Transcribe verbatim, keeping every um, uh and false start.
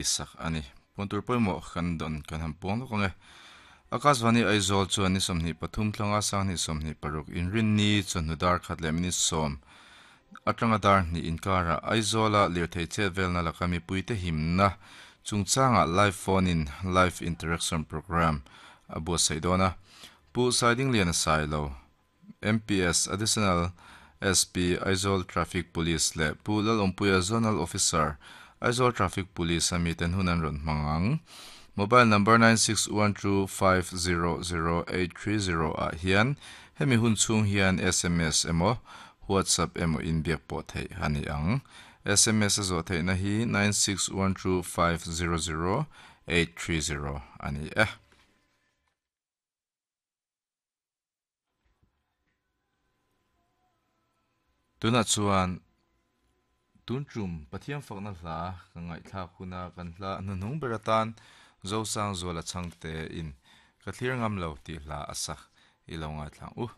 Sak ani puntur pawimawh kan dawn kan han puang lawk ang e. Akashvani Aizawl chuan ni sawmhnih pathum thlanga sanghnih sawmhnih paruk inrinni chawhnu dar khat leh minute sawm atanga dar hnih inkarah Aizawla lirthei chet velna laka mipuite himna chungchangah live phone in live interaction program a buatsaih dawn a. Pu Saidinglian a sai lo M P S Additional S P Aizawl Traffic Police leh Pu Lalawmpuia Zonal Officer Aizawl Traffic Police ami ten hun an rawn hmang ang. Mobile number nine six one two five zero zero eight three zero ah hian hemi hun chhung hian S M S emaw WhatsApp emaw inbiak pawh theih a ni ang. S M S a zawh theihna hi nine six one two five zero zero eight three zero a ni e. Tunah chuan tun tum Pathian fakna hla ka ngaihthlak huna kan hla hnuhnung ber atan Zosang Zuala changte in ka thlir ngam lo tih hla a sak i lo ngaithlang u.